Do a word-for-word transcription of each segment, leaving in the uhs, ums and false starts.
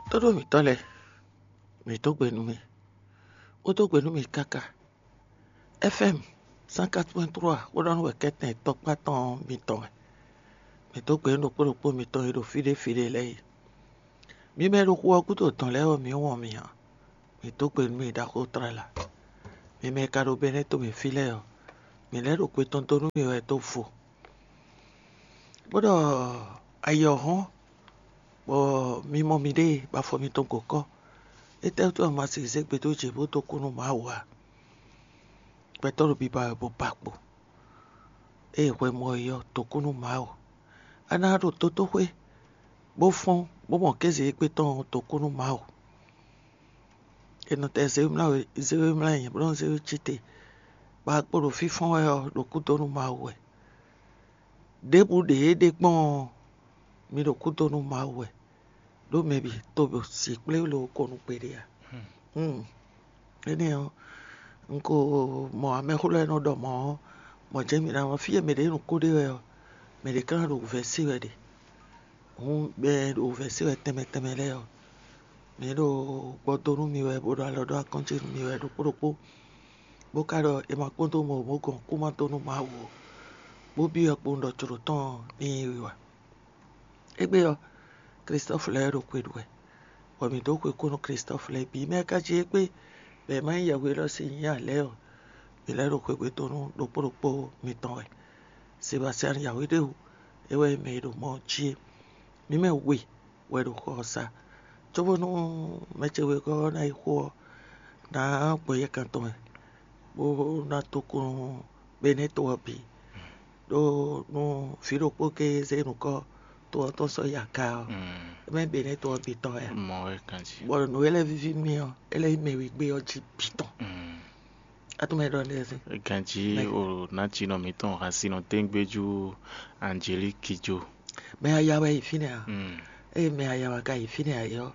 Tóɖó mǐtɔn lɛ́ɛ, mǐ dó gbe nú mi, bó dó gbe nú mi káká. F M cent quatre point trois xó ɖɔ nú wɛ kɛ́tɛn tɔkpá tɔn mitɔn wɛ. Mǐ dó gbe nú ɖokpó ɖokpó mitɔn e ɖo fí ɖé fí ɖé lɛ́ɛ é. Mi mɛ e ɖo xu ɔ́ gúdo dɔ̌n lɛ́ɛ ɔ́, mǐ wɔn mi ǎ. Mǐ dó gbe nú mi ɖaxó tlala. Mi mɛ e ka ɖo Benɛ́ tomɛ fí lɛ́ɛ ɔ́, mǐ lɛ́ ɖo gbe tɔn dó nú mi wɛ dó vo. Bó ɖɔ ayǐ ɔ́ hɔ́n, bɔ mi mɔ miɖée bɔ afɔ mitɔn gǒ kɔ́. Étɛ́wútu wɛ un ma sixú zé gbe dó jǐ bó dó kú nú Mawu ǎ? Gbɛtɔ́ ɖo biba wɛ bó ba kpo. Ée hwɛ mɔ yi ɔ́, dǒ kú nú Mawu. A ná ɖo dotóxwé, bó fɔ́n, bó mɔ kéze égbé tɔn ɔ́, dǒ kú nú Mawu. È nɔ tɛ zé we mlá we, zé we mlá nyɛ, bó nɔ́ zé we cí te, bɔ a kpo ɖo fínfɔ́n wɛ ɔ́, ɖo kúdó nú Mawu wɛ. Ɖěbǔ ɖě é ɖe gbɔn ɔ́, mi ɖo kúdó nú Mawu wɛ, ɖó mɛ bǐ to bɔ sǐ kplé loo ko nú gbeɖé ǎ. Hmm. Énɛ́ ɔ́, un ko mɔ amɛxó lɛ́ɛ nɔ ɖɔ mɔ̌ ɔ́, mɔ̌ jɛ́n mi ná wá fí e mɛ ɖě nǔ kó ɖe wɛ ɔ́, mɛ ɖě ka ná ɖo wǔvɛ́ se wɛ ɖe. Hǔn mɛ e ɖo wǔvɛ́ se wɛ tɛnmɛ tɛnmɛ lɛ́ɛ ɔ́, mǐ ɖo gbɔ dó nú mi wɛ, bó ɖo alɔ ɖó akɔ́n ce nú mi wɛ ɖokpó ɖokpó, bó ka ɖɔ è ma kpɔ́n dó mɔ bó gɔn kú ma dó nú Mawu ó, bó byɔ́ kpowun ɖɔ jlǒ tɔn ní nyí wiwa. Égbé ɔ́, Klistɔ́fu lɛ́ɛ ɖo xwe ɖu wɛ, bɔ mǐ dó xwe kú nú Klistɔ́fu lɛ́ɛ bǐ. Mɛ e ka jí égbé bɔ è ma nyí yɛhwe élɔ́ sín nyǐ ǎ lɛ́ɛ ɔ́, mǐ lɛ́ ɖo xwegbe dó nú ɖokpó ɖokpó mitɔn wɛ. Sebastiyani yǎhwe ɖé wú, é wɛ nyí mɛ e ɖo Mɔɔ jí é. Mǐ mɛ we wɛ ɖo xɔ ɔ́ sa, cóbónú mɛ ce wegɔ́ ɔ́ ná yi xo ɔ́, ná gbɔ yɛkan tɔn wɛ, bó ná dó kú nú Benɛ́to ɔ́ bǐ. Ɖó nú vǐ ɖokpó géé zé nǔkɔ to ɔ́ tɔn sɔ́ yi aga ɔ́, é mɛ Benɛ́to ɔ́ bǐ tɔn wɛ ǎ. Mɔ wɛ ganjí. Bɔ nǔ e lɛ́ víví mì ɔ́, é lɛ́ nyí mɛ wegbe ɔ́ jí bǐ tɔn. Mm. A tunwun mɛ e ɖɔ nɛ́ ɔ́ sín? Ganjí Mɛ- o nǎjínɔ mǐtɔn hansinɔ téngbéjú Angelíki jó. Mɛ aya wɛ yi fínɛ́ a? Mm. Eye mɛ aya wɛ ka yi fínɛ́ a yɔ,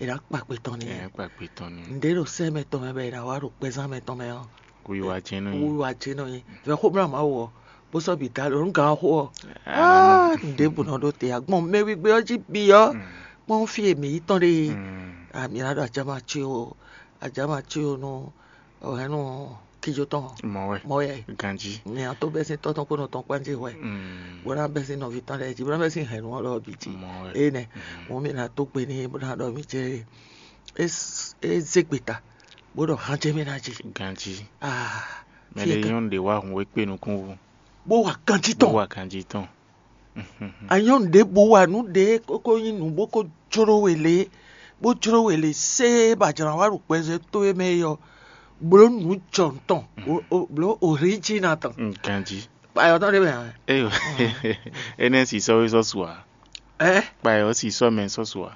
è nǎ kpa kpe tɔn n'i. Ɛ kpa kpe tɔn ni. Ǹdě ɖo sɛ́ mɛ tɔn mɛ bɔ è nǎ wá ɖo kpɛzán mɛ tɔn mɛ ɔ́, Wiwa jɛ́n nɔ nyi. Wiwa jɛ́n nɔ nyi. Vɛ xó mlá Mawu ɔ́, bó sɔ́ bǐ da ɖo nǔ gǎn ɔ́ xó ɔ́. Ah, aa, nǔɖé bǔ nɔ ɖó te agbɔn mɛ wígbé ɔ́ jí bǐ ɔ́, kpɔ́n fí e mǐ yi tɔn ɖe é. Mm. A mǐ ná ɖo ajama cí o, ajama cí o nú ɔhɛ̌nnu kíjó tɔn. Mɔ wɛ. Mɔ wɛ. Ganjí. Mǐ ná tó bɛ́ sín tɔ́ tɔn kpó nɔ tɔn kpán jí hwɛ. Mm. Bó ná bɛ́ sín nɔví tɔn lɛ́ɛ jí, bó ná bɛ́ sín hɛ̌nnu ɔ́ lɔ bǐ jí. Mɔ wɛ. Énɛ́. Mm. Mɔ̌ mǐ ná tó gbe n'i bó ná ɖɔ mǐ jɛ é, é zé gbeta, bó ɖɔ han jɛ mì ná jí. Ganjí. Ah, Mɛ fie ɖé kan. Nyɔ́nu ɖě wá hun wé kpé nukún wú. Bó wa ganjí Bó tɔn. Wa ganjí tɔn. Anyɔ́nu ɖěbǔ wa nǔ ɖě kókó nyí nǔ bó kó jló we lě, bó jló we lě séé bɔ a jlǎ wá ɖo gbɛzɛ́ towe mɛ é ɔ́, blǒ nǔ jɔnu tɔn, o- o- blǒ oríjina tɔn. Ganjí. Kpayɔ tɔn ɖé mɛ ǎ. Eyo. Énɛ́ si sɔ́ wé sɔ́ su ǎ. Ɛ? Kpayɔ si sɔ́ mɛ sɔ́ su ǎ.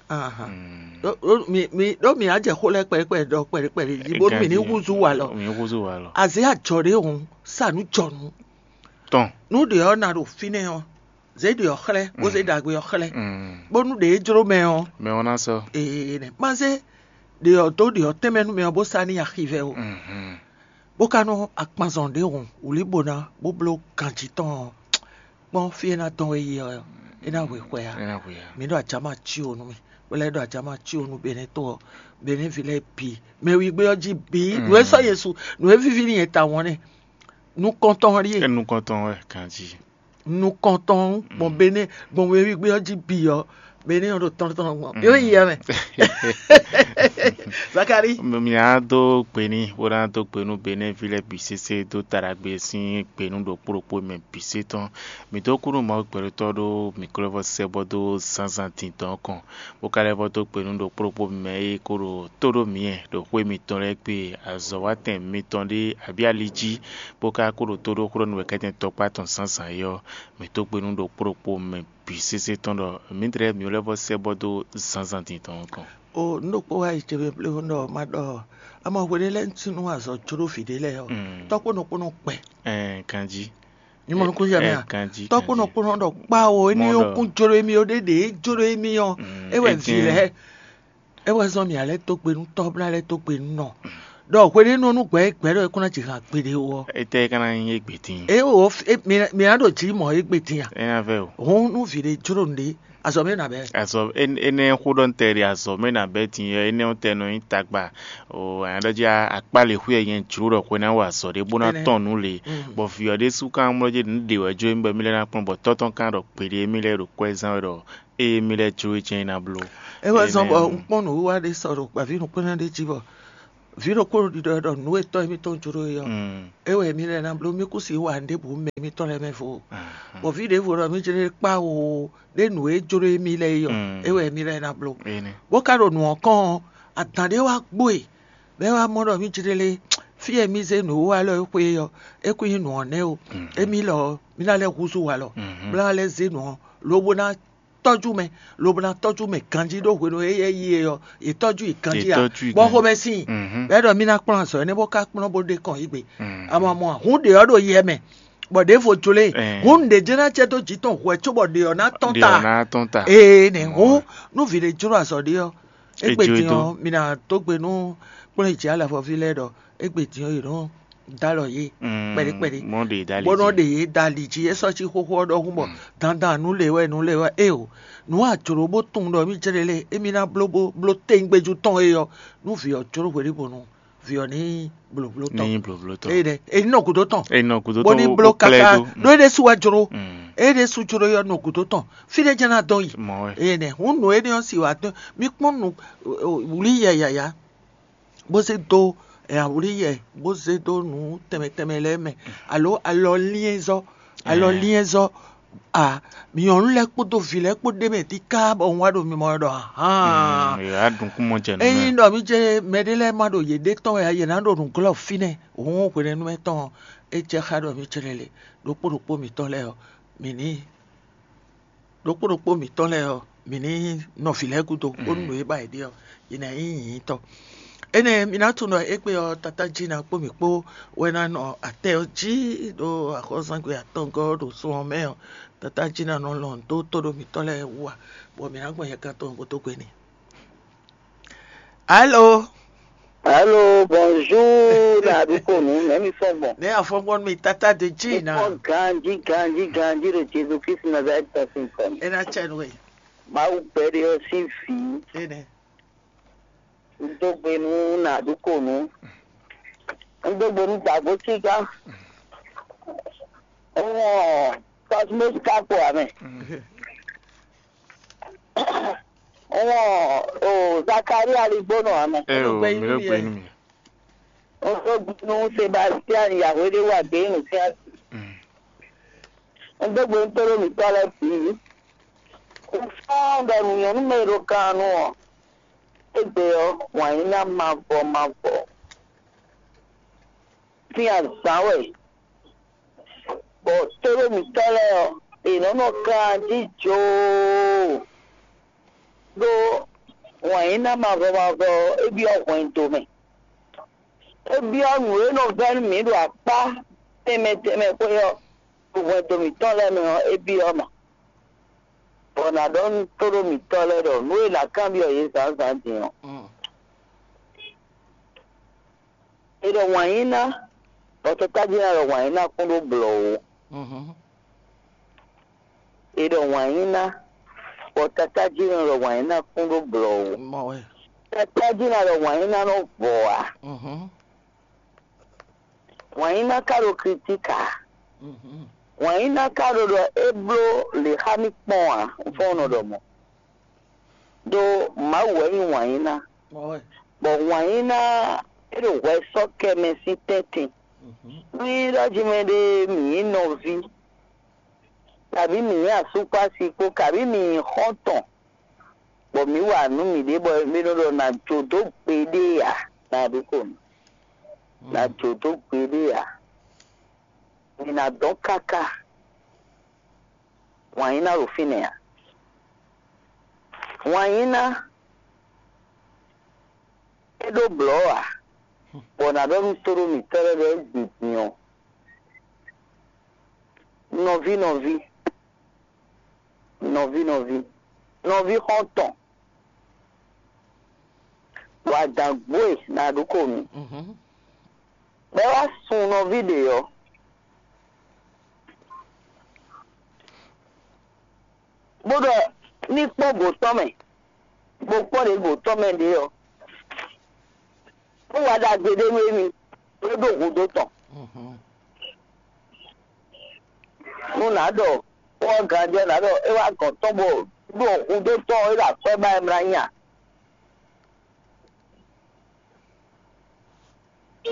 Ahan. Mm. Ɖó- ɖó mi- mi- ɖó mi á jɛ xó lɛ́ɛ kpɛɖé kpɛɖé ɖɔ kpɛɖé kpɛɖé jí bónú mi ní Ganjí. Húzú wa lɔ. Mi húzú wa lɔ. Azě ajɔ ɖé hǔn, sa nǔ jɔnu. Tɔn. Nú ɖě ɔ́ na ɖo fínɛ́ ɔ́, zě ɖě ɔ́ xlɛ́, bó zé ɖagbe ɔ́ xlɛ́, Mm. bónú ɖě e jló mɛ ɔ́, Mɛ ɔ́ ná sɔ́. Ee nɛ ma zé ɖě ɔ́ dó ɖě ɔ́ tɛnmɛ nú mɛ ɔ́ bó sa n'i axivɛ o, Mhm. bó ka nɔ akpanzɔn ɖě hǔn wlǐbona bó bló ganjí tɔn ɔ́, kpɔ́n fí e ná dɔn we yi ɔ́, é ná hwe xwɛ ǎ. É ná hwe ǎ. Mi ɖo ajama cí o nú mi, bó lɛ́ ɖo ajama cí o nú Benɛ́to ɔ́, Benɛ́vi lɛ́ɛ bǐ, mɛ wígbé ɔ́ jí bǐ, Mm. nǔ e sɔ́ Yesu, nǔ e víví n'i e tawun ɔ́ nɛ́, nukɔntɔn ɔ́ ɖíe. É nukɔntɔn wɛ ganjí. Nukɔntɔn gbɔn Benɛ́ gbɔn wewígbé ɔ́ jí bǐ ɔ́, Benɛ́ ɔ́ ɖo tɔn tɔn gbɔn. Yóò yi ɛ mɛ. Zakari. Mǐ á dó gbe n'i, bó ná dó gbe nú Benɛ́ví lɛ́ɛ bǐ sésé dó ta ɖagbe sín gbe nú ɖokpó ɖokpó mɛ bǐ sé tɔn. Mǐ dó kú nú Mawu gbɛɖotɔ́ ɖó mǐ ko lɛ́ vɔ́ sɛ́ bɔ dó zǎnzǎn dǐndɔn kɔn, bó ka lɛ́ vɔ́ dó gbe nú ɖokpó ɖokpó mɛ e ko ɖo tó ɖó mǐ wɛ ɖo xwé mitɔn lɛ́ɛ gbe, azɔ̌watɛn mitɔn ɖé abǐ ali jí, bó ka ko ɖo tó ɖó xlɔ́ nú wɛ kɛ́tɛn tɔkpá tɔn zǎnzǎn é ɔ́, mǐ dó gbe nú ɖokpó ɖokpó mɛ bǐ sésé tɔn ɖɔ mǐdɛɛ mǐ lɛ́ vɔ́ sɛ́ bɔ dó zǎnzǎn dǐndɔn kɔn. O nú ɖokpó wá yi ce mɛ pléwú ɖɔ ma ɖɔ ama hwe ɖé lɛ́ɛ sín nú azɔ̌ jó ɖó vǐ ɖé lɛ́ɛ ɔ́, Mm. Tɔ́ kpó nɔ kpó nɔ kpɛ. Ɛn ganjí. Nyí mɔ nukúnzí ɛ mɛ Ɛ, a? Ganjí, Tɔ́ kpó nɔ ganjí. Kpó nɔ ɖɔ kpá o, éní Mɔ yóò ɖɔ. Kún jó ɖó émí ó, ɖé ɖě é jó ɖó émí ɔ́, Mm, é wɛ vǐ étɛ́n. Lɛ́ɛ, é wɛ zɔ́n mǐ alɛ́ tó gbe nú tɔ́ bó ná lɛ́ tó gbe nú nɔ. Ɖɔ hwe ɖé nɔ nú gbɛ̌ gbɛ̌ ɖɔ é kún ná ji han gbeɖé ó ɔ́. Étɛ́ ka ná nyí égbé dín? É o, é- mi mi ná ɖo jǐ mɔ égbé dín a? É ná vɛ o. Hɔn nú vǐ ɖé jló nǔɖé, Azɔ̌ mɛ nabɛ. Azɔ énɛ́ xó ɖɔ ntɛ ɖi azɔ̌ mɛ nabɛ din ɔ́, énɛ́ ɔ́ tɛ nɔ nyí tagba. O anyɔ̌ɖɔ́ jí akpá lě xwé nyɛ jló ɖɔ xwe ná wa azɔ̌ ɖé bó ná tɔn nǔ lě. Bɔ vǐ ɔ́ ɖésú ka mlɔ́ jí nǔ ɖě wɛ jó émí bɔ émí lɛ́ ná kplɔ́n, bɔ tɔ́ tɔn ka ɖɔ gbeɖé émí lɛ́ ɖo kwɛ́ zán wɛ ɖɔ ée émí lɛ́ jló é jɛ́n é ná bló. É wɛ zɔ́n bɔ un kpɔ́n nǔwiwa ɖé sɔ ɖo gbǎví nukúnná ɖé jí bɔ vǐ ɖokpó ɖiɖɔ ɖɔ nǔ e tɔ́ émítɔn jló é ɔ́, é wɛ émí lɛ́ ná bló. Mí kú si wa nǔ ɖěbǔ mɛ émítɔn lɛ́ɛ mɛ vo. Bɔ vǐ ɖěvo ɖɔ mí jlé kpá wo ɖé nǔ e jló émí lɛ́ɛ é ɔ́, é wɛ émí lɛ́ɛ ná bló. Bó ka ɖo nǔ ɔ́ kɔn ɔ́, adǎn ɖé wá gbo e, bɔ é wá mɔ ɖɔ mí jlé fí e mí zé nǔwiwa lɔ é xwe é ɔ́, é kún nyí nǔ ɔ́ nɛ́ o. Émí lɔ ɔ́, mí ná lɛ́ húzú walɔ, bó ná lɛ́ zé nǔ ɔ́, lobo ná tɔ́jú mɛ, lobo ná tɔ́jú mɛ ganjí ɖó hwenu e éyɛ́ yi é ɔ́, yě tɔ́jú i ganjí ǎ, bɔ xomɛ sin i. Bɛ́ ɖɔ mí ná kplɔ́n azɔ̌ énɛ́ bó ka kplɔ́n bó ɖe kɔn yí gbe. Amamɔ hǔn ɖě ɔ́ ɖo yɛ mɛ, bɔ ɖěvo jló e. Hǔn nǔɖé jɛ́n ná jɛ dó jǐ tɔn hwɛ̌ cóbɔ ɖě ɔ́ ná tɔ́n ta. Ná tɔ́n ta. Ee nɛ hǔn nú vǐ ɖé jló azɔ̌ ɖé ɔ́, égbé din ɔ́, mi ná dó gbe nú kplɔ́n e jǐ alafɔví lɛ́ɛ ɖɔ égbé din ɔ́, yě nɔ dó alɔ yě kpɛɖé kpɛɖé, bó nɔ ɖe yě da ali jí. É sɔ́ cí xóxó ɔ́ ɖɔhun bɔ dandan nǔ lě wɛ nǔ lě wɛ é o. Nǔ a jlǒ bó tunwun ɖɔ mí jlé lé émí ná bló bó bló tɛ́ngbéjú tɔn é ɔ́, nú vǐ ɔ́ jló hweɖíbonu vǐ ɔ́ ní blǒbló tɔn. Ní blǒbló tɔn. Eye ɖɛ é ní nɔ gǔdo tɔn. É nɔ gǔdo bó tɔn ní bó bló kplá ɛ káká dó. Ɖó é ɖésú wɛ jló. É ɖésú jló é ɔ́ nɔ gǔdo tɔn. Fí ɖé jɛ́n ná dɔn yi. Mɔ wɛ. Eye nɛ hǔn nǔ énɛ́ ɔ́ si wǎ dɔn. Mí kpɔ́n nǔ wlí yɛ yǎyá bó zé dó awlí yɛ bó zé dó nǔ tɛnmɛ tɛnmɛ lɛ́ɛ mɛ, alo alɔliɛ́nzɔ́, alɔliɛ́nzɔ́ a, nyɔ̌nu lɛ́ɛ kpódó vǐ lɛ́ɛ kpó ɖ'é mɛ díká bɔ un wá ɖo mimɔ wɛ ɖɔ ahan. Yě wá ɖun kú mɔ jɛ nǔ mɛ. Ényí ɖɔ mí jɛ mɛɖé lɛ́ɛ ma ɖo yěɖée tɔn wɛ ǎ, yě ná ɖo nǔ glɔ́ fínɛ́. Hǔn hwenɛ́nu mɛ tɔn ɔ́, é jɛ xá ɖɔ mí jlɛ́ le ɖokpó ɖokpó mǐtɔn lɛ́ɛ ɔ́, mǐ ní ɖokpó ɖokpó mǐtɔn lɛ́ɛ ɔ́, mǐ ní nɔ vǐ lɛ́ɛ gúdo bónú nǔ e ba yě ɖe ɔ́, yě ná nyí nyǐnyítɔ́. Énɛ́ mi ná tunwun ɖɔ égbé ɔ́, tatá Jina kpó mǐ kpó wɛ ná nɔ atɛ ɔ́ jí ɖo axɔ́zangbe atɔngɔ́ ɖo sun ɔ́ mɛ ɔ́, tatá Jina nɔ lɔn dó tóɖó mǐtɔn lɛ́ɛ wú ǎ, bɔ mǐ ná gbɔn yɛkan tɔn bó dó gbe n'i. Alo. Allô, bonjour, na Adukonu, mɛ mi fɔn gbɔn. Ne afɔngbɔn mi tata de dzi na. Fɔn ganji, ganji, ganji ɖo Jesu Kristu Nazareth tɔn sin kɔn. Ena tsɛ nu e. Mawu gbɛɖe ɔ sín vǐ. Ene. N dó gbe nú na Adukonu. N dó gbe nú Dago Tsiga. N wɔn Cosmos Kakpo amɛ. Wọ́n o Zakaria Ligbónɔ ame. Ẹ o, mi ló gbé nú mi. Wọ́n tó gbinú Sebastian Yahweh ɖé wà gbé nù sí àti. Wọ́n tó gbé ntóló mi tọ́ lɛ bǐ. Kò fɔ́n ɖɔ nǔnyɔ́nú mɛ e ɖo kan nu ɔ́, égbé ɔ́, wǎn yí ná mavɔ mavɔ. Sín azǎn wɛ. Bɔ tóɖó mǐtɔn lɛ́ɛ ɔ́, è nɔ́ nɔ kan jí joo, ɖó wǎn yí ná mavɔ mavɔ ɔ́, é byɔ́ hwɛndo mɛ. É byɔ́ nǔ e nɔ vɛ́ nú mǐ ɖo akpá tɛnmɛ tɛnmɛ xwé ɔ́, ɖo hwɛndo mǐtɔn lɛ́ɛ mɛ ɔ́, é byɔ́ mɛ. Bɔ nǎ ɖɔ nú tóɖó mǐtɔn lɛ́ɛ ɖɔ nǔ e è nǎ kanbyɔ́ yě zǎnzǎn din ɔ́, è ɖɔ wǎn yí ná, bɔ tɔ́ tají ná ɖɔ wǎn yí ná kún ɖó blɔ̌ ó. È ɖɔ wǎn yí ná, bɔ tɔ́ tají ná ɖɔ wǎn yí ná kún ɖó blɔ̌ ó. Tɔ́ tají ná ɖɔ wǎn yí ná nɔ vɔ̌ ǎ. Wǎn yí ná ka ɖo kritík ǎ. Wǎn yí ná ka ɖo ɖɔ é bló lě xá mì kpɔ́n ǎ, un fɔ́n nɔ ɖɔ mɔ̌. Đó Mawu wɛ nyí wǎn yí ná. Bɔ wǎn yí ná é ɖo hwɛ sɔ́ kɛ mɛ sín tɛ́ntin. Nú nyí ɖɔ jí mɛ ɖé mǐ nyí nɔví, kabǐ mǐ nyí asúkpási kpó, kabǐ mǐ nyí xɔ́ntɔn, bɔ mǐ wa nǔ mǐɖée bɔ mǐ nɔ ɖɔ nǎ jó dó gbeɖé ǎ, nǎ ɖokpó nú. Nǎ jó dó gbeɖé ǎ. Mǐ ná dɔn káká. Wǎn yí ná ɖo fínɛ́ ǎ. Wǎn yí ná é ɖó blɔ̌ ǎ, bɔ nǎ ɖɔ nú tóɖó mǐtɔn lɛ́ɛ ɖɔ é gbi din ɔ́, nɔví nɔví, nɔví nɔví, nɔví xɔ́ntɔn, bɔ adǎn gbo e nǎ ɖokpó nú. Bɔ é wá sun nɔví ɖě ɔ́, bó ɖɔ ní kpɔ́n gǒ tɔn mɛ, bó kpɔ́n ɖě gǒ tɔn mɛ ɖě ɔ́, nú wa ɖagbe ɖé nú émí, é ɖo hudó tɔn. Nú nǎ ɖɔ xó ɔ́ ganjí ɔ́, nǎ ɖɔ é wá gɔ̌n tɔn bɔ ɖo hudó tɔn é ɖo akwɛ́ ba wɛ mlá nya.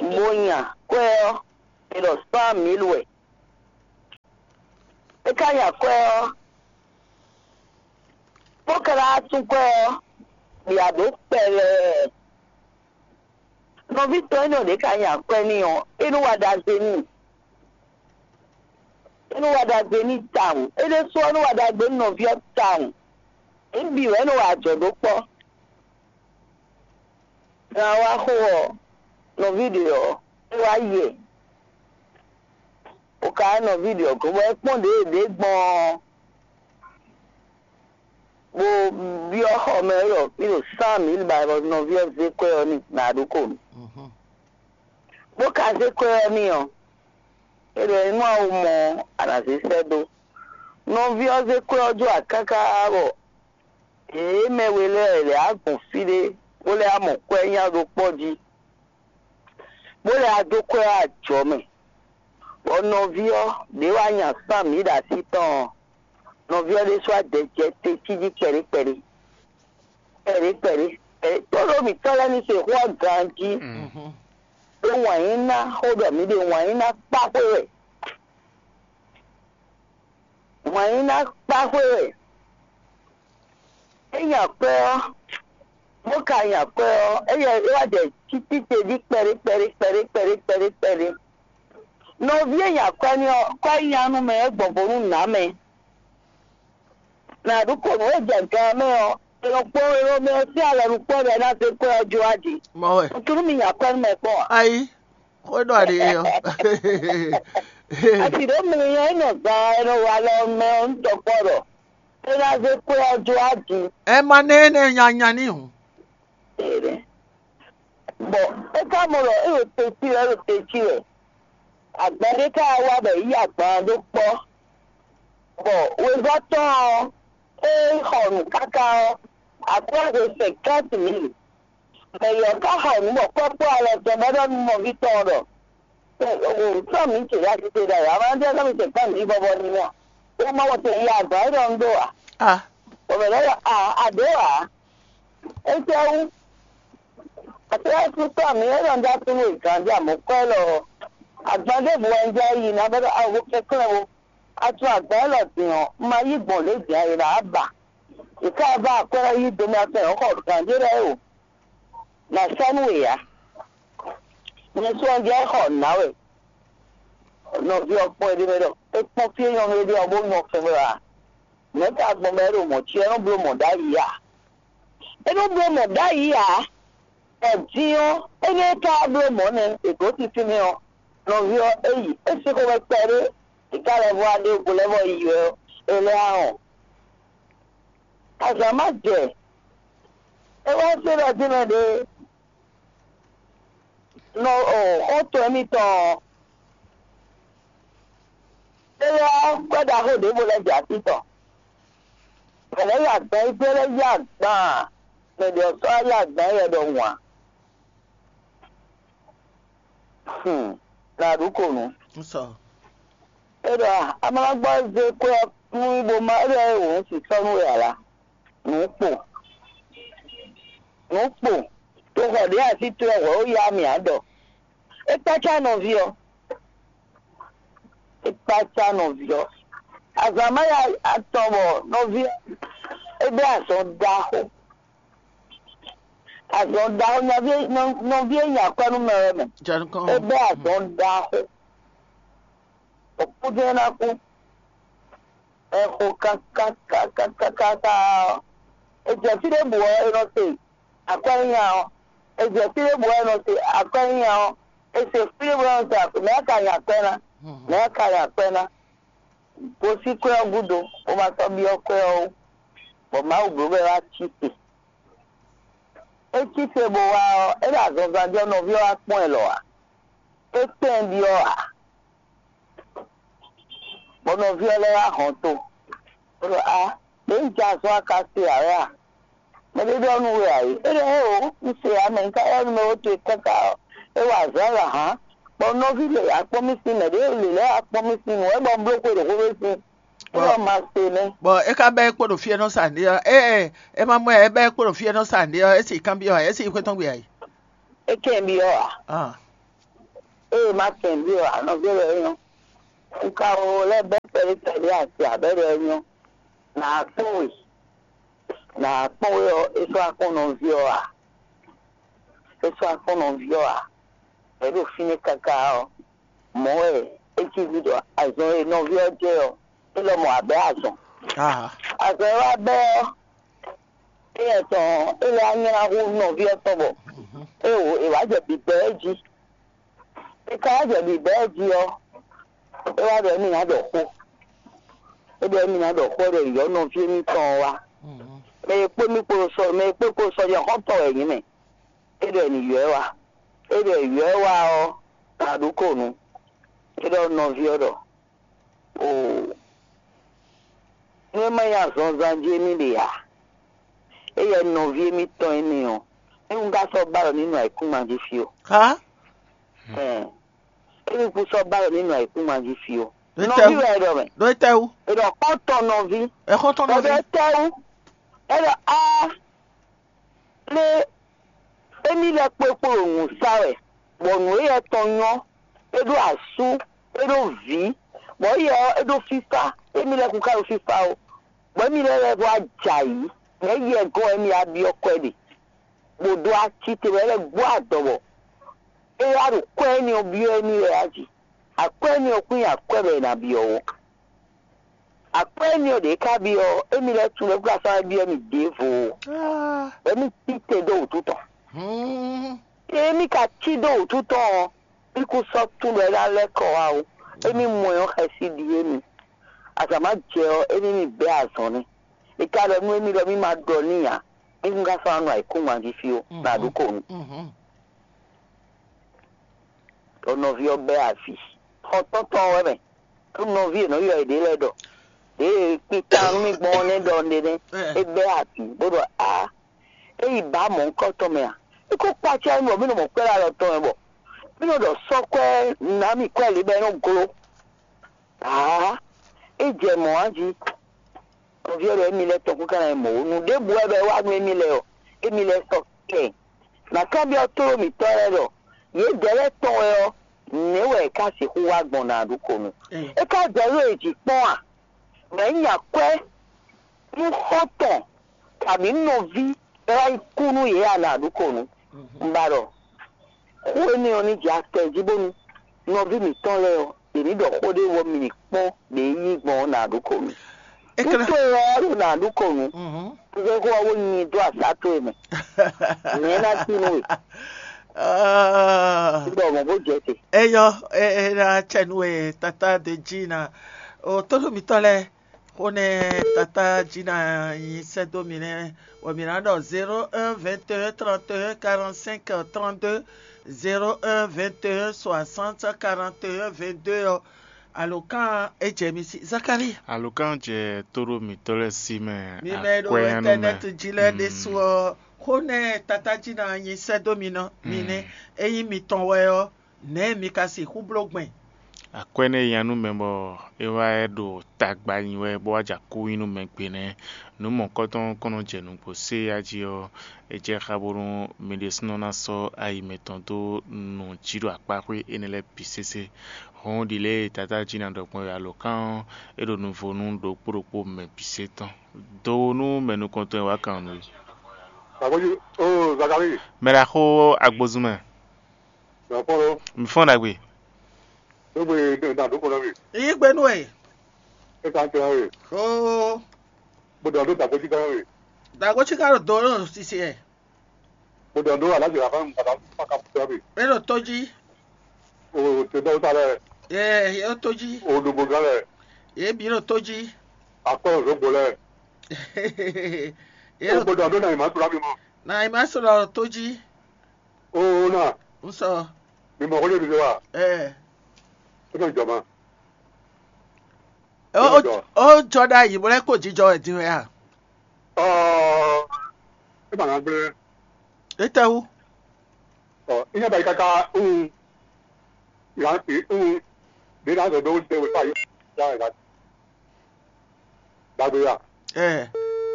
Bó nya kwɛ́ ɔ́, è ɖɔ cent mille wɛ. É ka nya kwɛ́ ɔ́, bó ka ná tún kwɛ́ ɔ́, bǐ a ɖǒ kpɛɖɛɛ. Nɔví tɔn énɛ́ ɖě ka nya kwɛ́ n'i ɔ́, é nɔ wa ɖagbe n'i. É nɔ wa ɖagbe n'i tawun. É ɖésú ɔ́ nɔ wa ɖagbe nú nɔví ɔ́ tawun. Mǐ bǐ wɛ é nɔ wa ajɔ̌ ɖó kpɔ́. Gan wá xo ɔ́, nɔví ɖě ɔ́, é wá yɛ. O ka nɔví ɖě ɔ́ gɔ́n bɔ é kpɔ́n ɖě e ɖě gbɔn ɔ́, bó byɔ́ xɔ mɛ ɖɔ fí ɖo cent mille ba bɔ nɔví ɔ́ zé kwɛ́ ɔ́ n'i nǎ ɖó ko nú. Bó ka zé kwɛ́ ɔ́ n'i ɔ́, é ɖɔ nú a wo mɔ ɔ́, a nǎ zé sɛ́ dó. Nɔví ɔ́ zé kwɛ́ ɔ́ jó akáká bɔ yě mɛ we lɛ́ɛ lɛ̌ á gbɔn fí ɖé, bó lɛ́ á mɔ kwɛ́ nya ɖó kpɔ́ jí, bó lɛ́ á dó kwɛ́ ɔ́ ajɔ̌ mɛ. Bɔ nɔví ɔ́ ɖě wá nya sán mǐ ɖo así tɔn ɔ́, nɔví ɔ́ ɖésú á dɛ jɛ te cí jí kpɛɖé kpɛɖé kpɛɖé kpɛɖé kpɛɖé. Tóɖó mǐtɔn lɛ́ɛ ní se xó ɔ́ ganjí, ɖó wǎn yí ná xó ɖɔ mǐ ɖe wǎn yí ná kpá xwé wɛ. Wǎn yí ná kpá xwé wɛ. É nya kwɛ́ ɔ́, bó ka nya kwɛ́ ɔ́, éyɛ́ é wá jɛ cícíte jí kpɛɖé kpɛɖé kpɛɖé kpɛɖé kpɛɖé kpɛɖé. Nɔví e nya kwɛ́ n'i ɔ́, kwɛ́ nya nú mɛ é gbɔn vo nú nǎ mɛ. Nǎ ɖu ko nǔ e jɛ gan ɔ́ mɛ ɔ́, è nɔ kpɔ́n é nɔ mɛ ɔ́ sín alɔ ɖokpó ɔ́ ɖɔ é ná zé kwɛ́ ɔ́ jó a jí. Mɔ wɛ. Nǔtúnú mi nya kwɛ́ nú mɛ kpɔ́n a? Ayi, xó e ɖɔ aɖe é ɔ́. Asi ɖǒ mi nyɔ é nɔ zan e nɔ wa alɔ mɛ ɔ́ nú tɔkpɔ́ ɖɔ é ná zé kwɛ́ ɔ́ jó a jí. Ɛ ma nɛ énɛ́ nya nya n'i hǔn. Ere. Bɔ é ka mɔ ɖɔ é ɖo te cí wɛ, é ɖo te cí wɛ. Agban ɖé ka wá bɔ yě yí agban ɔ́ ɖó kpɔ́. Bɔ wezɔ́ tɔn ɔ́, é xɔ nǔ káká ɔ́, akwɛ́ hwe cinquante mille. Mɛ yɔ̌ ka xɔ nǔ bɔ kpɔ́kpɔ́ alɔ tɔn bɔ é ɖɔ nú nɔví tɔn ɔ́ ɖɔ: "Sɔ́ mǐ ce ɖo asite ɖ'ayǐ, a ma jɛ sɔ́ mǐ ce kpɔ́n mǐ vɔvɔ ní mì a? Ó má wɔ te yi azɔ̌ é ɖɔ un ɖó ǎ." Ah, Bɔ mɛ lɛ́ɛ ɖɔ: "A, a ɖǒ ǎ. Étɛ́wú? Aklúnɔ́sútɔ́ mǐ e nɔ ɖó asúnú e gǎn jɛ amɔ̌kwɛ́ élɔ́ ɔ́, agban ɖěbǔ wɛ un jɛ yi ná bɔ ɖɔ a wo kɛnklɛ́n ó. A tunwun agban élɔ́ din ɔ́, un ma yí gbɔn lě din ǎ, è nǎ ba. È ká ba akwɛ́ ɔ́ yí do mɛ atɔn ɔ́ xɔ gǎn ɖé lɛ́ɛ o. Nǎ sɔ́ nú we ǎ. Nyɛ sɔ́ ɔ́ jɛ xɔ nǎ wɛ." Nɔví ɔ́ kpɔ́n éɖée mɛ ɖɔ é kpɔ́n fí e nyɔ̌nu éɖée ɔ́ bó nyɔ́ fɛ́n wɛ ǎ. Nɛ̌ ka gbɔn bɔ é ɖo mɔ̌ ce ɔ́ nɔ́ bló mɔ̌ ɖ'ayǐ a? É nɔ́ bló mɔ̌ ɖ'ayǐ ǎ. Bɔ din ɔ́, énɛ́ ka bló mɔ̌ nɛ́ è dǒ tití n'i ɔ́, nɔví ɔ́, é yi. É sín xomɛ kpɛɖé, è ka lɛ́ vɔ wá ɖe go lɛ́ vɔ yi wɛ ɔ́, é lɛ́ á hɔn. Azǎn má jɛ, é wá zé ɖɔ dín mɛ ɖě nɔ xɔ́ntɔn émítɔn ɔ́, é lɛ́ ɔ́, kwɛ́ ɖaxó ɖěvo lɛ́ jɛ así tɔn. Mɛ lɛ́ɛ yí agban yi gbé lɛ́ yí agban, mɛ ɖě ɔ́ sɔ́ wá yí agban yi wɛ ɖɔhun ǎ. Hmm, nǎ ɖu ko nǔ. Un sɔ. É ɖɔ a ma ná gbɔ zé kwɛ́ ɔ́ nú bó má é ɖɔ é wǒ un sǐ sɔ́ nú we ǎ lá. Nǔ kpo. Nǔ kpo. To xɔ ɖě así towe hwɛ̌ ó yá mì ǎ ɖɔ. É kpácá nɔví ɔ́. É kpácá nɔví ɔ́. Azǎn má ya atɔn bɔ nɔví ɔ́ é bɛ́ azɔn ɖaxó. Azɔn ɖaxó nyaví nɔví e nya akwɛ́ nú mɛ wɛ mɛ. Jɛ nukɔn. É bɛ́ azɔn ɖaxó. Òkú jɛ́n ná kú. Ɛ xo kákákákáká ɔ́. È jɛ fí ɖěbǔ ɔ́, è nɔ se akwɛ́ nyínya ɔ́. È jɛ fí ɖěbǔ ɔ́, è nɔ se akwɛ́ nyínya ɔ́. È se fí ɖěbǔ ɔ́, è nɔ se akwɛ́. Mɛ̌ ka nya akwɛ́ ná? Mɛ̌ ka nya akwɛ́ ná? Gosín kwɛ́ ɔ́ gúdo, bó ma sɔ́ byɔ́ kwɛ́ ɔ́ wú, bɔ Mawu bló bɔ é wá cí te. É cí te bó wá ɔ́, é ɖo azɔnzan jɛ nɔví ɔ́ wá kpɔ́n ɛ lɔ ǎ. É kpɛ́n byɔ́ ǎ, bɔ nɔví ɔ́ lɛ́ wá hɔn to, bó ɖɔ: "Á, Ɖě un jɛ azɔn a ka se ǎ wɛ a? Mɛ ɖé ɖɔ nú we ǎ é. É ɖɔ éeǒ, un se ǎ, mɛ un ka ylɔ́ nú mɛ ó towe káká ɔ́, é wa azɔ̌ lɔ hǎn, bɔ nɔví lě akpɔ́n mì sín, mɛ ɖě lě lɛ́ɛ akpɔ́n mì sín nǔ wɛ bɔ un bló xwe ɖě xwé sín. É ɖɔ ma se nɛ́. Bɔ é ka bɛ́ é kpo ɖo fí e nɔ sa nǔɖé ɔ́, ée é ma mɔ ɛ, é bɛ́ é kpo ɖo fí e nɔ sa nǔɖé ɔ́, é sì kanbyɔ́ ǎ, é sì xwé tɔn gbe ǎ é. É kɛn byɔ́ ǎ. Ah. Ée ma kɛn byɔ́ ǎ, nɔví lɛ́ɛ é nyɔ́. Un ka o lɛ́ bɛ́ kpɛɖé kpɛɖé asi abɛ́ ɖɔ é nyɔ́. Nǎ kpɔ́n we. Nǎ kpɔ́n we ɔ́, é sɔ́ akpɔ́n nɔví ɔ́ ǎ. É sɔ́ akpɔ́n nɔví ɔ́ ǎ. Bɔ é ɖo fínɛ́ káká ɔ́, mɔ̌ wɛ é cí ví ɖɔ azɔn e nɔví ɔ́ jɛ ɔ́, é lɔ mɔ abɛ̌ azɔn. Ah. Azɔn e wá bɛ́ ɔ́, éyɛ́ tɔn ɔ́, é lɛ́ wá nylá hú nɔví ɔ́ tɔn bɔ é wǒ è wǎ jɛ bǐbɛ́ ɛ jí. È ka wá jɛ bǐbɛ́ ɛ jí ɔ́, é wá ɖɔ émí ná ɖɔ xó. É ɖɔ émí ná ɖɔ xó ɔ́ ɖɔ yɔ̌ nɔví émítɔn ɔ́ wá. Mɛ e kpó mì kpo sɔ mɛ e kpó kpo sɔjɛxɔ́ntɔn wɛ nyǐ mɛ. É ɖɔ è nǐ ylɔ́ ɛ wá. É ɖɔ è ylɔ́ ɛ wá ɔ́, nǎ ɖu kó nǔ. É ɖɔ nɔví ɔ́ ɖɔ: Oo, nú é má nyí azɔnzan jí émí ɖe ǎ, éyɛ́ nɔví émítɔn énɛ́ ɔ́, é wú ká sɔ́ ba ɖɔ ní nɔ ayǐkúngban jí fí ó. Há? Ɛn, émí kún sɔ́ ba ɖɔ ní nɔ ayǐkúngban jí fí ó. Nɔví wɛ é ɖɔ mɛ. Ɖó é tɛ́ wú? È ɖɔ xɔ́ntɔn nɔví. Ɛ xɔ́ntɔn nɔví. Bɔ é tɛ́ wú? É ɖɔ áá. Lé émí lɛ́ kpó é kpo ɖo nǔ sa wɛ, bɔ nǔ éyɛ́ tɔn nyɔ́, é ɖó asú, é ɖó vǐ, bɔ éyɛ́ ɔ́, é ɖó fífá, émí lɛ́ kún ka ɖo fífá ó, bɔ émí lɛ́ lɛ́ vɔ ajǎ yí, nɛ̌ yɛ gɔ́n wɛ émí wá byɔ́ kwɛ́ ɖe, bó dó ací te bɔ é lɛ́ gbɔ adɔ bɔ é wá ɖo kwɛ́ énɛ́ ɔ́ byɔ́ émí wɛ a jí? Akwɛ́ énɛ́ ɔ́ kún nyí akwɛ́ bɔ è nǎ byɔ́ ó. Akwɛ́ énɛ́ ɔ́ ɖě ká byɔ́ ɔ́, émí lɛ́ɛ tunwun ɖɔ é kún ka sɔ́ byɔ́ mì ɖěvo ó. Bɔ émí cí te dó wǔtu tɔn. Ée émí ka cí dó wǔtu tɔn ɔ́, mí kún sɔ́ tunwun ɖɔ é ná lɛ́ kɔ wá ó. Émí mɔ ɛ ɔ́ xɛsi ɖíe mì. Azǎn ma jɛ ɔ́, émí mì bɛ́ azɔn nɛ́. È ka ɖɔ nú émí ɖɔ mí ma ɖɔ n'i ǎ, mí kún ka sɔ́ ná nɔ ayǐkúngban jí fí ó, nǎ ɖu kó nú. Ɖɔ nɔví ɔ́ bɛ́ avǐ. Xɔtɔ́ntɔn ɔ́ wɛ mɛ. Nú nɔví e nɔ ylɔ́ yěɖée lɛ́ɛ ɖɔ: Ɖěe kpikpan nú mì gbɔn ɔ́ nɛ́ ɖɔ un ɖe nɛ́, é bɛ́ avǐ, bó ɖɔ: Aa, é yi bǎ mɔ̌hunkɔtɔn mɛ a? É ko kpácá mì bɔ mí nɔ mɔ kwɛ́ ɖo alɔ tɔn mɛ bɔ mí nɔ ɖɔ sɔ́ kwɛ́ ná mì kwɛ́ lě bɔ é nɔ gló. Aa, é jɛ mɔ̌ a jí. Nɔví ɔ́ ɖɔ émí lɛ́ɛ tɔn kún ka ná nyí mɔ̌ ó. Nǔ ɖěbǔ wɛ bɔ é wá nú émí lɛ́ɛ ɔ́, émí lɛ́ɛ sɔ́ kɛ. Nǎ kanbyɔ́ tlóló mǐtɔn lɛ́ɛ ɖɔ: Yědɛɛ lɛ́ɛ tɔn wɛ ɔ́, nɛ̌ wɛ è ká sixú wá gbɔn nǎ ɖu kó nu? É ká jɛ ɖó è jǐ kpɔ́n a? Nɛ̌ nya kwɛ́ nú xɔ́ntɔn kabǐ nɔví é wá yi kú nú yě a nǎ ɖu kó nu? Un ba ɖɔ xó énɛ́ ɔ́ ní jɛ akpɛ jí bónú nɔví mǐtɔn lɛ́ɛ ɔ́, yě ní ɖɔ xó ɖé wɔ mì ní kpɔ́n ɖě yí gbɔn ɔ́ nǎ ɖu kó nu. Nú towe wɛ ɔ́ ɖo nǎ ɖu kó nu, un zé xó ɔ́ bó nyi dó asá towe mɛ. Nɛ̌ ná cí nú we? Ah. Un ɖɔ mɔ̌ bó jɛ te. Eyɔ, e e na cɛ nú we tata de jí na. O tónú mitɔn lɛ, xó nɛ tata jí na nyi sɛ́ dó mi nɛ́, bɔ mǐ ná ɖɔ zéro un vingt et un trente et un quarante-cinq trente-deux, zéro un vingt et un soixante quarante et un vingt-deux ɔ́. Alǒkan e jɛ mi sí, Zakalíi. Alǒkan jɛ tóɖó mǐtɔn lɛ́ɛ sí mɛ. Mi mɛ e ɖo akwɛ́nyanú mɛ. Ɛntɛnɛti jí lɛ́ɛ ɖésú ɔ́, xó nɛ tata jí na nyi sɛ́ dó mi nɔ mi nɛ́. Ényí mitɔn wɛ ɔ́, nɛ̌ mi ka sixú bló gbɛn? Akwɛ́ nɛ́ nya nú mɛ bɔ é wá ɖo tagba nyi wɛ bó wá jɛ akú nyi nú mɛ gbe nɛ́. Nǔ mɔ̌kɔ́tɔn kɔn nɔ jɛ nǔgbó sé ya jí ɔ́, é jɛ xá bónú mi ɖésúnɔ ná sɔ́ ayi mɛtɔn dó nǔ jí ɖo akpáxwé énɛ́ lɛ́ɛ bǐ sésé. Hɔn ɖi lě e Tata jí ná ɖɔ gbɔn wɛ alǒkan ɔ́, é ɖo nuvo nú ɖokpó ɖokpó mɛ bǐ sésé tɔn. Do nú mɛ nukɔntɔn e wǎ kan nǔ é. Agbójú, ó Zakalíi. Mɛ ɖaxó agbozun mɛ. Mɛ fɔ́n ló. Mi fɔ́n ɖagbe. Ló gbe ɖo nǎ ɖó kɔn ná mi. Yí gbe nú ɛ. É ka tɛ ɔ́ e. Xó. Bó ɖɔ ɖó dàgbéjí gán mi. Dàgbéjí gán ɖo do ɖo sisi ɛ. Bó ɖɔ ɖó alájọ yàrá mi bàtà fún ká fún mi. É ɖo tó jí. O tè bá wúta lɛ. Ɛ é ɖo tó jí. O ɖogbo gán lɛ. Yě bǐ ɖo tó jí. Akpɔ́ òzógbo lɛ. Yě O ɖo bó ɖɔ ɖó nà ìmá tura mi mɔ. Nà ìmá sɔ̀rọ̀ ɖo tó jí. Oo na. Ŋsɔ. Mi mɔ xó ɖé mi zé wa. Ɛ. É nɔ jɔ ma. Ó jɔ. Ó jɔ ɖ'ayǐ bó lɛ́ kó jijɔ wɛ din wɛ a? Ɔɔ, é ma ná gblé. Étɛ́wú? Ɔ, é nya ba yi káká un, un, ɖě ná zɔ bɛ wó zɛ wɛ fá yí. Yá ɛ ɖagbe ya. Ɛ,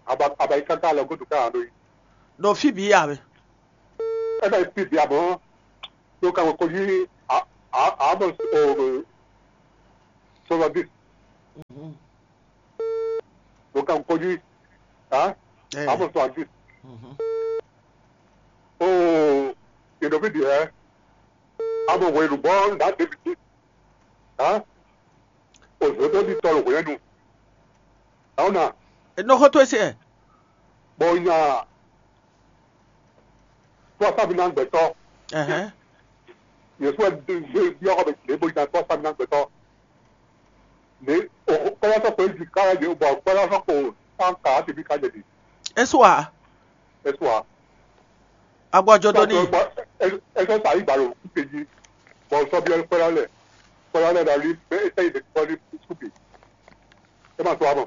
Aba aba yi káká lɔ gúdo ká ná ɖó yi. Ɖo fí bǐ ya mɛ. É bɛ fi bǐ abɔ̌. Ɖo kan ko yí a a a bɔ o soixante-dix. Ɖo kan ko yí a a bɔ soixante-dix. Oo, yě ɖo fí ɖi hɛ̌? A mɔ hwenu bɔ un ɖǎ David jí. Hã? Òzǒdóɖitɔ́ ɖo hwɛ̌nu. Dǎwúna, Nɔ xɔ towe se. Bɔ un nya tó asábí ná gbɛtɔ́. Ɛhɛn. Yě sɔ́ ɛ dó byɔ́ xɔ mɛ lě bó nya tó asábí ná gbɛtɔ́. Lě kpɛ́lá sɔ́ kpo éjì ká yě bɔ kpɛ́lá sɔ́ kpo sán ka á ti bí ká jɛ ɖi. É su a? É su a? Agbɔ jɔ dó n'i. Bɔ é é sɔ́ sa yí gbǎ ɖo kúkpé jí. Bɔ sɔ́ byɔ́ kpɛ́lá lɛ. Kpɛ́lá lɛ ɖo ali bɛ é sɛ́ yi ɖe kpɔ́ ní kúkpé. É ma sɔ́ a mɔ.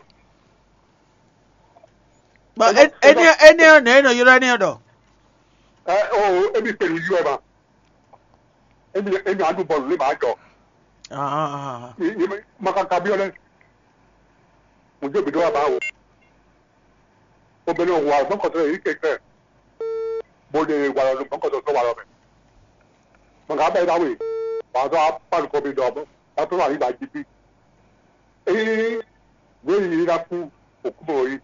Bɔ énɛ́ énɛ́ ɔ́ nɛ̌ é nɔ ylɔ́ énɛ́ ɔ́ ɖɔ? Ɛ o émi kpenu yí wɛ ma. Émi émi aɖu bɔlu lé ma jɔ. Ah, ah, ah. Makaka byɔ́ lɛ. Mo jó gbeɖé wá bá wò. Obìnrin ò wà lọ́kọ̀tọ́ yìí kẹ̀kẹ́. Mo lè wà lọ́kọ̀tọ́ sọ wà lọ́mẹ. Màgá bẹ́ẹ̀ bá wè. Wà á sọ apá nìkan mi dọ̀ bọ́. Wà á tó wà nígbà jí bí. Ee, wéyìí ná kú òkú mọ̀ yìí.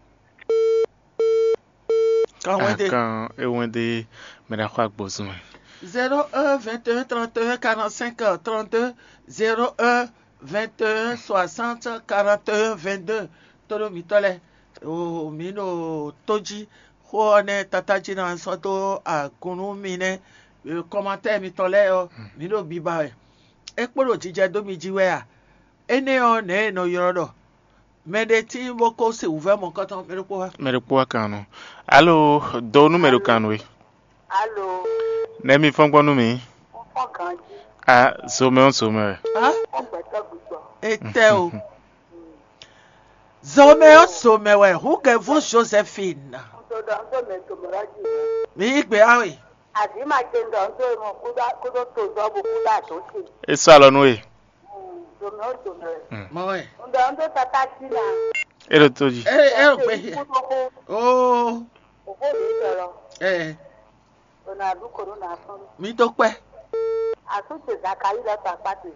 Kan wɛn de. Akan ewɛn de mɛ ɖe xɔ agbɔzun mɛ. Zéro un vingt et un trente et un quarante-cinq trente-deux, zéro un vingt et un soixante quarante et un vingt-deux. Tónú mǐtɔn lɛ́ɛ, o mǐ ɖo tó jí. Xó ɔ́ nɛ́ tatájí ná sɔ́ dó agun nú mi nɛ́. Kɔmatɛ́ mitɔn lɛ́ɛ ɔ́, mǐ ɖo biba wɛ. É kpo ɖo jijɛ dó mi jí wɛ a? Énɛ́ ɔ́, nɛ̌ è nɔ ylɔ́ ɖɔ? Mɛ ɖé tíin bó ko se wǔvɛ́ mɔ̌kɔtɔn mɛ ɖokpó wá. Mɛ ɖokpó wá kan nɔ. Alo, do nú mɛ ɖo kan nú we. Alo. Nɛ̌ mi fɔ́n gbɔn nú mi? Fɔ́n ganjí. A zomɛ ɔ́ zomɛ wɛ. Á, Fɔ́n gbɛtɔ́ gbígbɔ. Etɛ o. Zomɛ ɔ́ zomɛ wɛ, húgɛvú Josephine. Ŋdo ɖɔ ŋdo mɛ zomɛ ɔ́ jí. Mi yí gbe awe. Azǐ ma ce ŋdɔ ŋdo mɔ kúdó kúdó tozɔ́ bo kúdó adǒ ce. É sɔ́ alɔ nú we. Zomɛ ɔ́ zomɛ wɛ. Mɔ wɛ. Ŋdɔ ŋdo tata cí na. É ɖo tó jí. É é ò gbé. Kúdó kú. Oo. Òfó mi sọ̀rọ̀. Ɛ Ronaldo kò ló nà sán. Mi tó kpɛ. Àtúntò Zakayi lọ tó apá tè.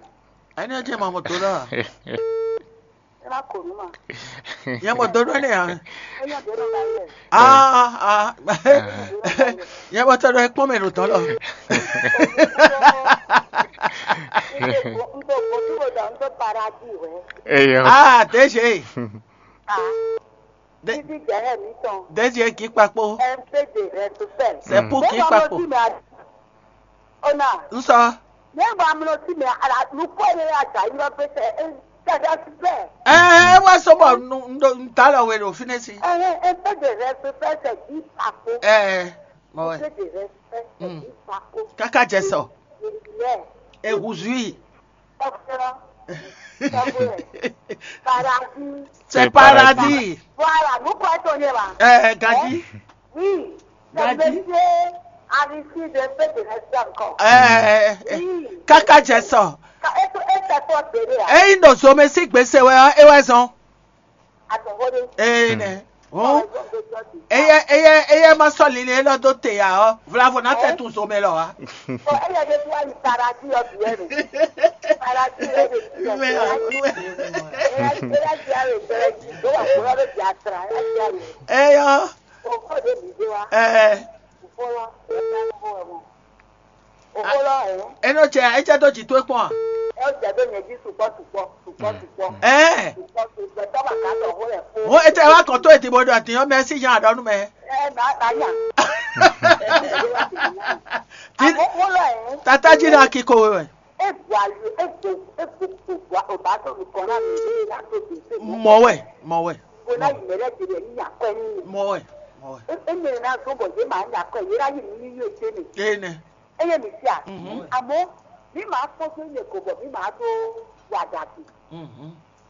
Ẹni ọjọ́ ìmọ̀ mọ̀ tó náà. Ẹ má kò ní mà. Yẹn mọ̀ tó náà nìyà. Ẹ yàn dé lọ́ba yẹ. Ah ah. Yẹn mọ̀ tó náà ẹ pọ́n mẹ́rin tán lọ. N tó kojú kò dà n tó paradis wẹ̀. Eyɔ. Ah, tẹ́ ṣe. Ah. Dé- Títí jẹ́ ẹ̀ mi tán. Désiré kì í papò. Ẹ ń pèsè rẹ tó fẹ́. C'est pour kì í papò. Ona. N sɔ. Nígbà mi lọ sí mi, àlùkò rẹ̀ àjà yìí lọ pèsè ẹ ń tẹ̀lé sí bẹ́ẹ̀. Ẹ ẹ wá sọ́bọ̀ n ta lọ wẹ̀ lò fínẹ́sì. Ẹ ẹ ń pèsè rẹ tó fẹ́ sẹ̀ kì í papò. Ẹ ẹ mọ̀ wẹ̀. Pèsè rẹ tó fẹ́ sẹ̀ kì í papò. Káká jẹ sọ. Ìbílẹ̀. Ehùzùí. Ọ̀fẹ́ràn. Ọ̀fẹ́ràn. Paradis. C'est paradis. Voilà, vous croyez qu'on est là? Ẹ ẹ Gadi. Oui. Gadi. Monsieur Aristide fait de rester encore. Ẹ ẹ káká jẹ sọ. Ka eto esa tó bèrè à. Eyi nɔ zomɛ sí gbèsè wɛ ɔ ewɛ zɔn. Àtọ̀wọ́dé. Ee nɛ. Ó. Eyɛ eyɛ eyɛ ma sɔ lili elɔ dó te ya ɔ vlavo na tɛ tun zomɛ lɔ wa. Ɔ eyɛ de tó ayi paradis ɔ bìɛ nɛ. Paradis ɔ de ti yɛ. Wíwẹ́ wíwẹ́. Eyɛ eyɛ di awe bɛrɛ di do wa kpɔlɔ bɛ di atra eyɛ di awe. Eyɔ. O kɔ de mi de wa. Ɛɛ. O kɔ lɔ eyɛ di awe bɔ wɛ mɔ. Òkú lɔ ẹ̀. Enɔ cɛ etsɛ dó jì tó kpɔn a? Ẹ ó jẹ dó nyɛ jí sukpɔ sukpɔ sukpɔ sukpɔ. Ɛɛ. Sukpɔ sukpɔ tɔba ka tɔ xó lɛ fó. Wo etsɛ wa kɔn tó eti bo ɖɔ ti yɔ mɛ si nya ɖɔ nu mɛ. Ɛ na na nya. Ti Àmọ́ òkú lɔ ẹ̀. Tata jí na kiko wɛ. E bu ali e bu e bu bu bu o ba tɔ mi kɔ na mi e na to bi se. Mɔ wɛ mɔ wɛ. Ko na yi mɛ lɛ ti lɛ ni nya kɔ ni. Mɔ wɛ mɔ wɛ. E e mɛ na zɔn bɔ ye ma nya kɔ ye na yi mi ni yi o se mi. Ee nɛ. Eye mi sia. Àmọ́ mi máa fọ́ sí ilé kò bọ̀ mi máa tó wà dàbí.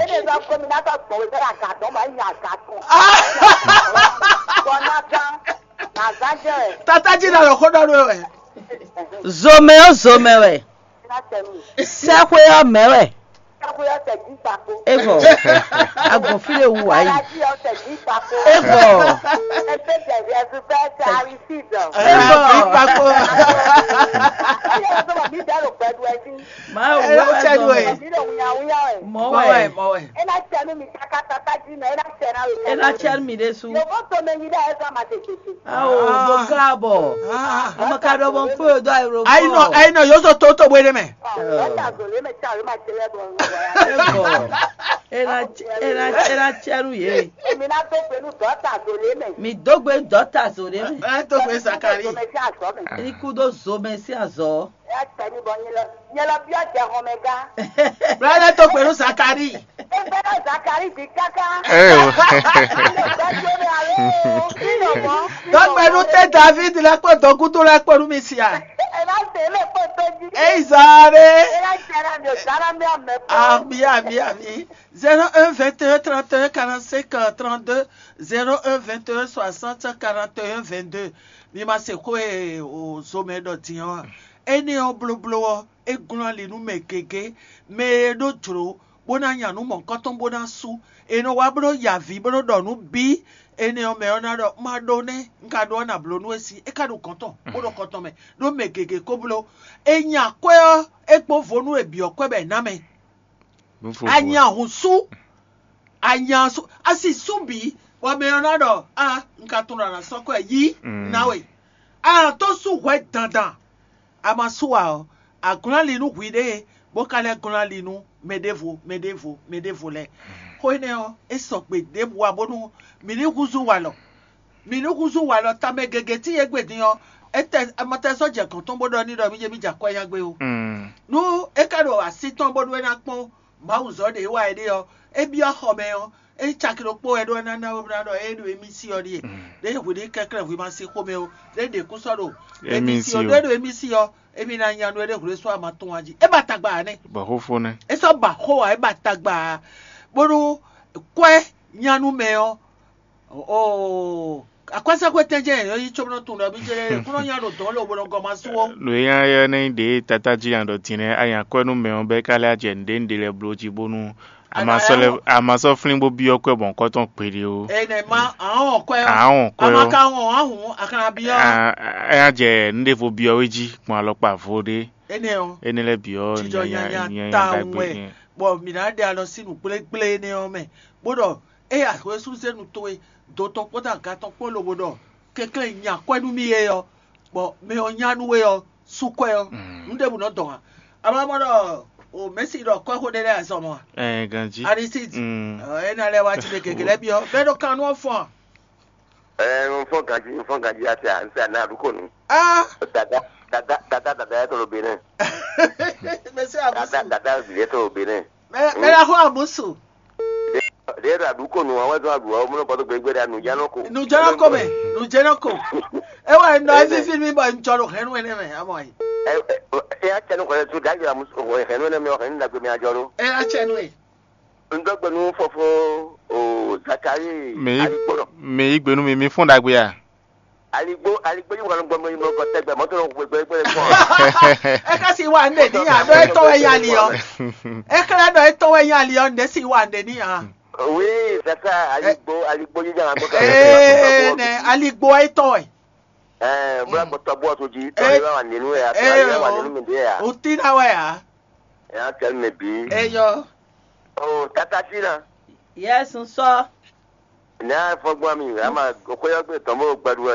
Ene zɔ ko mi na tɔ gbɔn wezɛ la ga dɔn ma nya ga tɔn. Bɔ na gan na gan jɛ. Tata jí na lɔ xó ɖɔ ɖo wɛ. Zomɛ ɔ́ zomɛ wɛ. Na tɛ mi. Sɛxwe ɔ́ mɛ wɛ. Sɛxwe ɔ́ tɛ jí kpakpo. Evɔ. Agbɔn fí ɖe wu wá yi. Alaji ɔ́ tɛ jí kpakpo. Evɔ. Ɛsɛ jɛ jɛ su fɛ tɛ awi si dɔ. Evɔ. Kpakpo. Ɛyɛ wọ́n sọ ma mi dẹ́ lo gbẹdu ẹ sí. Mawu Ẹ lọ wɛ tẹ nu ẹ. Zomɛ. Mi dẹ́ wunya wunya ẹ. Mɔ Mɔ wɛ, wɛ. Mɔ wɛ. Ena tẹ nu mi kaka tata jí nɔ, ena tẹ na lo. Ena tẹ mi ɖe su. Yovo to mɛ yi dɛ ɛ sɔ ma tètè. Awo, ah, bó káàbọ̀. Ah. Ọmọ ká dọ́gbọ́n pé o dọ́ àìrò. Ayi nɔ, ayi nɔ, yóò sọ tó tó bóyá mɛ. Dɔta zòlé mɛ tí a yóò máa tẹlẹ bọ. Ẹ̀bọ̀. Ena ena ena tiẹnu yé. Èmi náà tó pẹ̀lú dɔta zòlé mɛ. Mi dógbe dɔta zòlé mɛ. Ẹ tó pé Zakari. Zòmẹ sí àzọ mẹ. Ní kú dó zo mɛ sí àzọ. Ẹ tẹ̀lé bọ nyẹ lọ nyẹ lọ bí ọ̀jẹ̀ hàn mẹ gá. Bla ẹ tó pẹ̀lú Zakari. Ẹ bẹ́ẹ̀ Zakari di káká. Ẹ o. Ẹ lọ gbẹ́jú mi àlọ́ o. Kí ló mọ̀? Dɔgbɛnu tɛ David lɛ kpɔ dɔkutu lɛ kpɔ nu mi sia. Ẹ bá tẹ̀lé kpó tó jí. Eyi zare. Ẹ bá tẹ̀lé mi ò sára mi àmẹ́ kpó. Ami ami ami. Zéro un vingt et un trente et un quarante-cinq trente-deux, zéro un vingt et un soixante quarante et un vingt-deux. Mi ma se xó e o zomɛ ɖɔ din ɔ́. Énɛ́ ɔ́ blóbló ɔ́, é glɔ́n ali nú mɛ gěgé, mɛ e ɖó jlǒ bó ná nya nǔ mɔ̌hunkɔtɔn bó ná sú. È nɔ wá bó nɔ́ ya avǐ bó nɔ́ ɖɔ nǔ bǐ. Énɛ́ ɔ́, mɛ ɔ́ ná ɖɔ má ɖó nɛ́, un ka ɖó ɔ́ ná bló nú we sí, é ka ɖo gɔ̌n tɔn bó ɖo kɔn tɔn mɛ, ɖó mɛ gěgé ko bló. È nya akwɛ́ ɔ́, é kpó vo nú è byɔ̌ kwɛ́ bɔ è nǎ mɛ. Nú fofo. A nya hun sú, a nya sú, a si sú bǐ, bɔ mɛ ɔ́ ná ɖɔ á, un ka tunwun ɖɔ a nǎ sɔ́ kwɛ́ yí ná we. A nǎ tó sú hwɛ dandan. A ma sú ǎ ɔ́, a glɔ́n ali nú hwiɖée, bó ka lɛ́ glɔ́n ali nú mɛ ɖěvo, mɛ ɖěvo, mɛ ɖěvo lɛ́ɛ. Xó énɛ́ ɔ́, é sɔgbe ɖěbǔ ǎ bónú mǐ ní húzú walɔ. Mǐ ní húzú walɔ tamɛ gěgé cí yě gbe din ɔ́, é tɛ ma tɛ sɔ́ jɛ gɔ̌n tɔn bó ɖɔ n'i ɖɔ mí jɛ mí jɛ akwɛ́ nya gbé ó. Nú é ka ɖo así tɔn bónú é ná kpɔ́n Mawu zɔ́ ɖě wá é ɖe ɔ́, é byɔ́ xɔ mɛ ɔ́, é caki ɖokpó wɛ ɖó ná ná ná ɖɔ é ɖo émí sí ɔ́ ɖíe. Ɖěe hwǐ ní kɛnklɛ́n hwǐ ma sín xomɛ ó, ɖěe ɖě kú sɔ́ ɖo émí sí ɔ́, ɖó é ɖo émí sí ɔ́, émí ná nya nú é ɖé hwlé sɔ́ ama tɔn wá jí. É ba tagba ǎ nɛ́. Bɔ xófó nɛ́. É sɔ́ ba xó ǎ, é ba tagba ǎ, bónú kwɛ́ nya nú mɛ ɔ́, oo, akwɛ́sɛ́xwé tɛ́njɛ́n yě nɔ yí cóbɔ nɔ tunwun ɖɔ mí jɛ lɛ́ɛ kúnɔ nya ɖo dɔ̌n lobɔ nɔ gɔ́ ma sú ó. Nǔ e nya yɛ nɛ́ nyí ɖě e Tatá jí nya ɖɔ din nɛ́, a nya kwɛ́ nú mɛ ɔ́ bɔ é ka lɛ́ jɛ nǔɖé nǔɖé lɛ́ɛ bló jí bónú a ma sɔ́ lɛ́ a ma sɔ́ flín bó byɔ́ kwɛ́ bɔ nukɔn tɔn kpéɖé ó. Enɛ ma ahɔn kwɛ ɔ́. Ahɔn kwɛ ɔ́. A ma ka wɔn ahun a ka na byɔ́. A- a- A nya jɛ nǔɖévo byɔ́ wé jí gbɔn alɔkpa vo ɖé. Enɛ ɔ́. Énɛ́ lɛ́ɛ byɔ́ jijɔ nyanya nyanya tawun ɖagbe wɛ. Bɔ mǐ ná ɖe alɔ sín nǔgblégblé énɛ́ ɔ́ mɛ, bó ɖɔ é axwésúzénu towe, do tɔn kpódó aga tɔn kpó lobo ɖɔ kɛnklɛ́n nya kwɛ́ nú mì é ɔ́, bɔ mɛ ɔ́ nya nú we ɔ́, sú kwɛ́ ɔ́, nǔ ɖěbǔ nɔ dɔn ǎ. A ma mɔ ɖɔ o Mɛ̌si ɖɔ kɔ́xo ɖé lɛ́ɛ azɔn mɔ a? Ɛɛ ganjí. Arisíti. Mm. Ɔ, é ná lɛ́ wá cí ɖe gěgé lɛ́ɛ byɔ́. Mɛ ɖo kan nú ɔ́ fɔ́n a? Ɛɛ, un fɔ́n ganjí, un fɔ́n ganjí, a se a, un se a ná a ɖu ko nu. Ah! Dada, dada, dada, dada yɛ to lo be nɛ. Mɛ̌si Dada, amusu. Dada, bi yɛ to lo be nɛ. Mɛ mɛ la xɔ amusu. Ɖe ɖe ɖo aɖu ko nu, awɛ zɔn aɖu, awɛ mlɔ bɔtɔ gbegbe ɖe anu ya nɔ ko. Nùjɔnɔ ko mɛ, nùjɔnɔ ko. Ewa nɔ Ɛnɛ. Evivi mi bɔ ŋjɔ ɖo hɛn wɛ nɛ mɛ, amɔ yi. Ɛ ɛ ɛ ya cɛ nu kɔlɛ tu dagi amusu hɛn wɛ nɛ mɛ, hɛn nu dagbe mɛ ajɔ ɖo. Ɛ ya cɛ nu ye. Un dó gbe nú fofó o Zakari Mi Aligbónɔ. mi yí gbe nú mi, mi fún ɖagbe a? Aligbo aligbo yí wà ló gbọmọ yí mọ kọ tẹgbẹ mọtò ló gbẹgbẹ gbẹgbẹ kọ. É ká sì wà ń dè níyà ɖó é tɔ́ wɛ yá li ɔ́. É xlɛ́ ɖɔ é tɔ́ wɛ yá li ɔ́, ǹdẹ́ sì wà ń dè níyà. Oui, c'est ça, aligbo aligbo yí jàrá gbọ́dọ̀. Ee nɛ aligbo é tɔ́ wɛ. Ɛɛ bóyá gbɔtɔ bó ọtún jí tọ́ ẹ bá wà nínú ẹ̀ àti ẹ bá wà nínú mi dé yà. O tí ná wɛ à. Ẹ̀ á tẹ̀lé mi bí. Eyɔ. O tata sí na. Yes, n sɔ. Ní a fɔgbọ́n mi, a máa kóyọ́gbé tán bó gbẹdúrà